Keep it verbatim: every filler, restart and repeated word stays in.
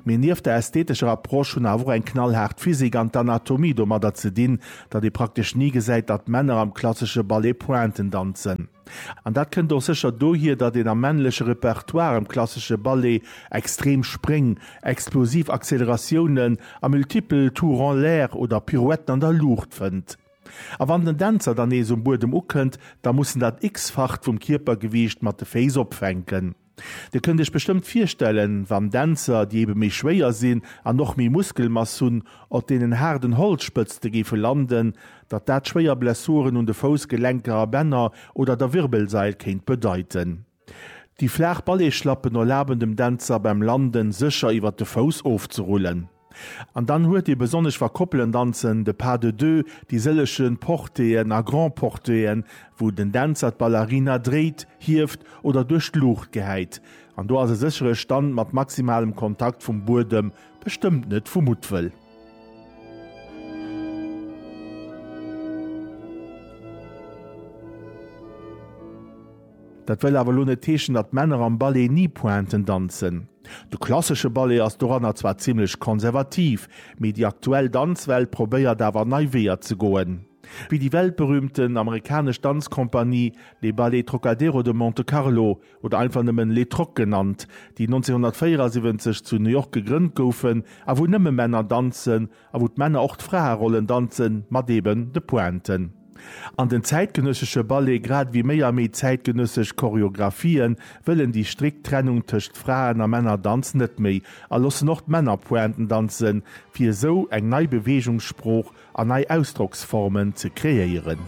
Mee nieft der ästhetescher Approche hunn awer och eng knallhaart Physik an d'Anatomie domadder ze dinn, datt ee praktesch ni gesäit, datt Männer am klassesche Ballet Pointen danzen. An dat kënnt och sécher dohier, datt een am männleche Repertoire am klassesche Ballet extrem Spréng, explosiv Acceleratiounen a multipel Tours en l'air oder Pirouetten an der Luucht fënnt. A wann den Dänzer dann nees um Buedem ukënnt, da muss en dat x-facht vum Kierpergewiicht mat de Féiss opfänken. Dir kënnt iech bestëmmt virstellen, wann Dänzer, déi ebe méi schwéier sinn an och méi Muskelmass hunn, op deenen haarden Holzspëtzte géife landen, datt dat schwéier Blessuren un de Foussgelenker a Bänner oder der Wirbelsail kéint bedeiten. Déi flaach Balletschlappen erlaben dem Dänzer beim Landen sécher iwwer de Fouss ofzerullen. An dann huet ee besonnesch wa Koppelen danzen, de Pas de deux, déi sëllege Portéen a Grand Portéen, wou den Dänzer d'Ballerina dréit, hieft oder duerch d'Luucht gehäit. An do ass e séchere Stand mat maximalem Kontakt vum Buedem bestëmmt net vu Muttwëll. Dat wëll awer lo net heeschen, datt Männer am Ballet ni Pointen danzen. De klassesche Ballet ass doranner zwar zimmlech konservativ, mee déi aktuell Danzwelt probéiert awer nei Weeër ze goen. Wéi déi weltberüümten amerikanesch Danzkompanie Les Ballets Trockadero de Monte Carlo, oder einfach nëmmen Les Trocs genannt, déi nonzénhunnertvéierasiwwenzeg zu New York gegrënnt goufen a wou nëmme Männer danzen a wou d'Männer och d'Fraerollen danzen, mat eben de Pointen. An den zäitgenëssesche Ballet, grad ewéi méi a méi zäitgenëssesch Choreographien, wëllen déi strikt Trennung tëscht Fraen a Männerdanz net méi a loossen och d'Männer Pointen danzen, fir esou eng nei Beweegungssprooch an nei Ausdrocksformen ze kreéieren.